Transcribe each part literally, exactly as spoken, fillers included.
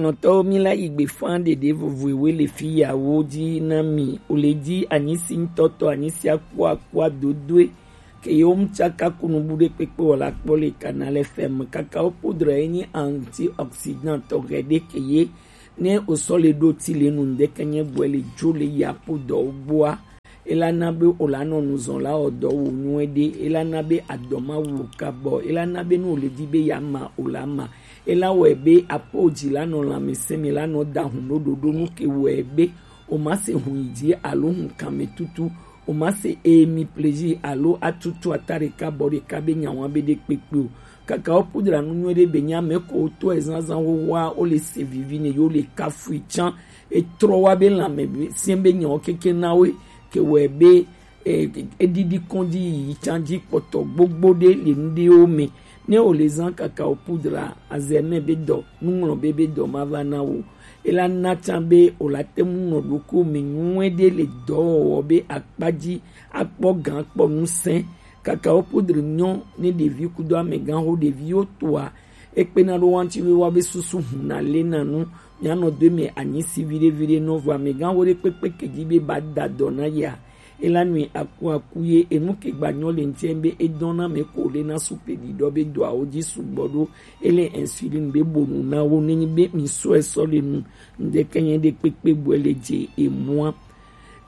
Nɔtɔwo, mi la yi gbe fan ɖeɖe vovoewe le fi yawo ji na mi. O le ji anyisi ŋutɔtɔ, anyisi akua akua dodoe. Ke yewo mu tsaka kunu bu ɖe kpekpe wɔ la kpɔ le Canal F M. Kakao poudre ye nyi antioxydant tɔ hɛ ɖe ke ye. Ne o sɔ le ɖo ti le nu ŋdeke nye gbɔe le jo le ya po dɔ gbɔa. Ela na be o la nɔ nu zɔn la wɔ dɔ wo nyuie ɖe. Ela na be adɔ ma wu o kabɔ. Ela na be nu o le di be ya ma o la ma. Ela wɔe be apo dzi la nɔ lãmesẽ me la nɔ da hun ɖo ɖoɖo nu ke wɔe be o ma se hun yi dzi alo hun kan me tutu. O ma se emi plaisir alo atutu ata ɖeka bɔ ɖeka be nyawa be ɖe kpekpe o. Kakao poudre nu nyuie ɖe be nya me ko to ezazan wo wa o le se vivi ne yo le kafui tsan. E trɔ wa be lãme be sɛn be nyawo keke na we ke wɔe be e, eɖiɖi kɔn dzi yiyi tsan dzi kpɔtɔ gbogbo ɖe le nu ɖewo me. Ne o le zan kakao poudre a, azɛ mɛ be dɔ, nuŋlɔ be be dɔ ma va na wo. Ela na tsan be o la te ŋu nɔ ɖokuiwo me nyuie ɖe le dɔwɔwɔ be akpa dzi akpɔ gan akpɔ ŋusẽ. Kakao poudre nyɔ ne ɖevi kudo amegã ho ɖeviwo toa. Ekpena ɖo wanti wiwa be susu huna le na nu. Mianɔ do me anyisi viɖe viɖe nɔ vɔ amegã ho ɖe kpekpe ke dzi be ba da dɔ na ya. Ela nui aku aku ye enu ke gba nyɔ le ŋtiɛ be edɔn na me ko le na supe ɖiɖɔ be dɔawo dzi sugbɔ ɖo. Ele insuline be bonu na wo nenyi be mi sɔ esɔ le nu ŋdeke nye ɖe kpekpe bɔe le dze emua.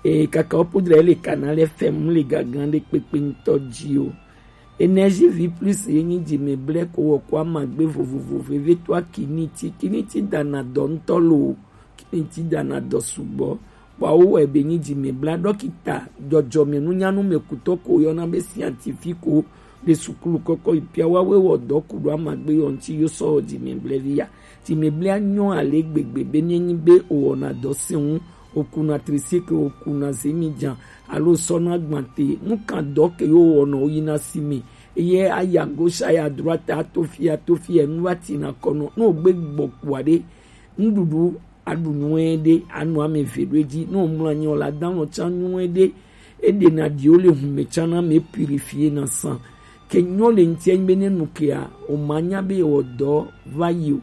E, kakao poudre le Canal F M le gagan ɖe kpekpe ŋutɔ dzi o. Énergie Vie Plus ye nyi dzimɛblɛ ko wɔ ko amagbe vovovo veve to akiniti. Kiniti dana dɔ ŋutɔ lo. Kiniti dana dɔ sugbɔ. Kpɔawo wɔ ebe nyi dzimɛbla dɔkita dzɔdzɔme nunyanu me kutɔ ko yɔna be scientifique ko ɖe sukulu kɔkɔ yi pia wa we wɔ dɔ ku ɖo amagbe yɔ ŋuti yo sɔ dzimɛblɛ vi ya. Dzimɛblɛ anyɔ ale gbegbe be ne nyi be o wɔna dɔ se ŋu, o kuna tricycle, o kuna zemijan, alo sɔna gbante, nu kan dɔ ke yo wɔnɔ o yina si me. Eye aya gauche, aya droite, ato fi, ato fi, enu va tina kɔnɔ. Ne o gbe gbɔ kua ɖe, nuɖuɖu aɖu nyuie ɖe, anu ame eve ɖo edzi. Ne o mlɔ anyi o la, da alɔ tsan nyuie ɖe. Eɖena ɖiwo le hume tsan na me, purifier na sang. Ke nyɔ le ŋutia nyi be ne nu kea, o ma nya be ewɔ dɔ va yi o.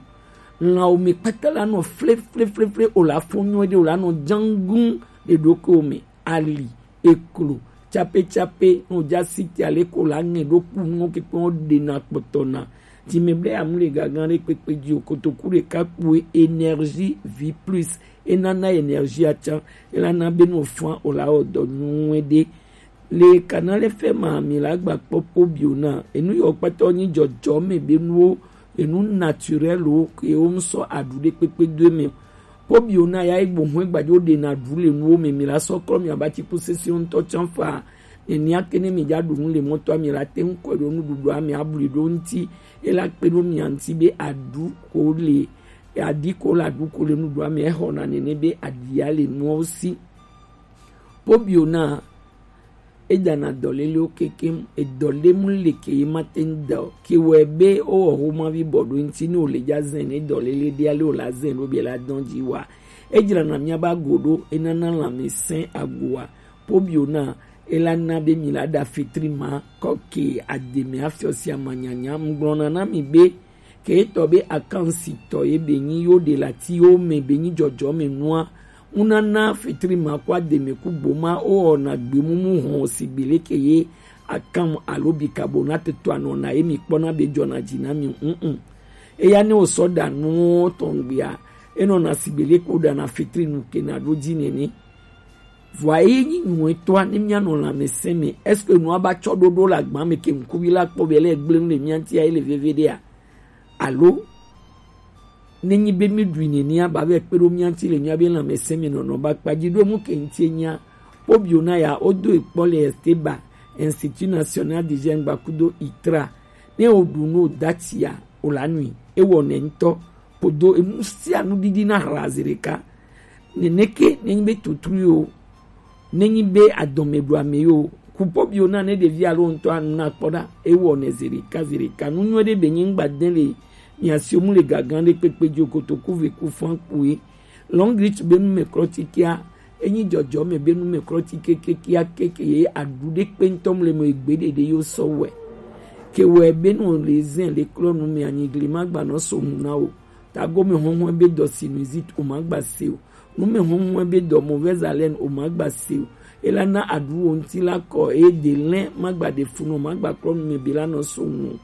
Lãwo me kpata la nɔ fle, fle, fle, fle, o la fɔ nyuie ɖe, o la nɔ dzangun le ɖokuiwo me. Ali, eklo, tsape tsape, no dza siti ale ko la ŋɛ ɖo ku nuwo kpekpe wo ɖena kpɔtɔ na. Dzimɛblɛ amu le gagan ɖe kpekpe dzi o, kotoku ɖeka kpue, Énergie Vie Plus, enana énergie atsan, elana be no fã o la wɔ dɔ nyuie ɖe. Le Canal F M a mi la gba kpɔ pobio na, enu yɔ kpata nyi dzɔdzɔme be nuwo, enu naturel wo ke wo ŋsɔ aɖu ɖe kpekpe do eme. Pobio na ya egbo hɔn egbadzo ɖena ɖu le nuwo me, mi la sɔ klɔ mi aba tsi ku sese ŋutɔ tsan fa. Nenia ke ne mi dza ɖu nu le mɔtɔa mi la te ŋu kɔe ɖo nuɖuɖua me abli ɖo ŋuti. Ela kpe ɖo mia ŋuti be aɖu ko le, aɖi ko la ɖu ko le nuɖuɖua me, exɔna nene be aɖia le nuwo si. Pobio na edana dɔlelewo kekem, edɔlemu le ke ye ma te ŋu da o. Ke wɔe be wowɔ xomavi bɔ ɖo ŋuti ne wòle dza zɛn ne dɔlele ɖe ale wòla zɛn ɖo be la dɔn dzi wa. Edzrana miaba go ɖo, enana lãmesẽ agoa. Pobio na, ela na be mi la ɖa fetri ma kɔ ke ademe afiɔ sia manyanya. Ŋgblɔna na mi be, ke etɔ be akansitɔ ye be nyi yo ɖe la ti yo me be nyi dzɔdzɔme nua. Ŋunana fetri ma kɔ ademe ku gboma o wɔna gbemumu hɔn sigbe leke ye akam alo bikabo na tetɔ anɔna ye mi kpɔna be dzɔna dzi na mi ŋuŋu. Eya ne wosɔ ɖa nuwo tɔngbea, enɔna sigbe leke woɖana fetri nu kena ɖo dzi nene. Vɔa eye nyi nyuietɔa ne mianɔ lãmesẽ me, est-ce que nua ba tsɔ ɖoɖo le agba me ke ŋkuvi la kpɔ be le gblẽ le mia ŋutia ye le veve ɖea? Alo ne nyi be mi ɖui nenea ba vɛ kpe ɖo mia ŋuti le mia be lãmesẽ me nɔnɔ ba kpa dzi ɖo emu ke ŋutie nyia? Pobio na ya wodo ekpɔ le Esteba, Institut National d'Hygiène gbakudo itra. Ne woɖu nu woda tsia, wòla nui, ewɔ nɛ ŋutɔ. Kpodo enu sia nu ɖiɖi na hla zi ɖeka. Neneke nenyi be tutru yo, nenyi be adɔme ɖu ame yo, kupɔ biwo na ne ɖevi alo ŋutɔ anu na kpɔ ɖa, ewɔ nɛ zi ɖeka zi ɖeka. Nu nyuie ɖe be nyi ŋgba de le mia si mu le gagan ɖe kpekpe dzi o, kotoku ve ku fan kpue. Long reach be nu me klɔ ti kia, enyi dzɔdzɔ me be nu me klɔ ti keke kia keke ye aɖu ɖe kpe ŋutɔ mu le me egbe ɖeɖe yo sɔ wɛ. Ke wɛ be nu le zɛn le klɔ nu me anyigli ma gba nɔ so ŋu na o. Tagome hɔnhɔn be dɔ sinusite o ma gba se o. Nume hɔnhɔn be dɔ mauvaise haleine o ma gba se o. Ela na aɖu wo ŋuti la kɔ eye de lɛn ma gba ɖe funu o ma gba klɔ nume be la nɔ so ŋu o.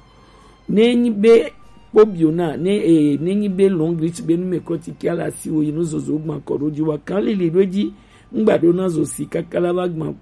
Ne nyi be kpobio na ne e ne nyi be longrich be nume kɔ ti kia la si wo yi nu zozo gba kɔ ɖo ji wa kan lili ɖo ji ŋgba ɖo na zo si kaka la va gba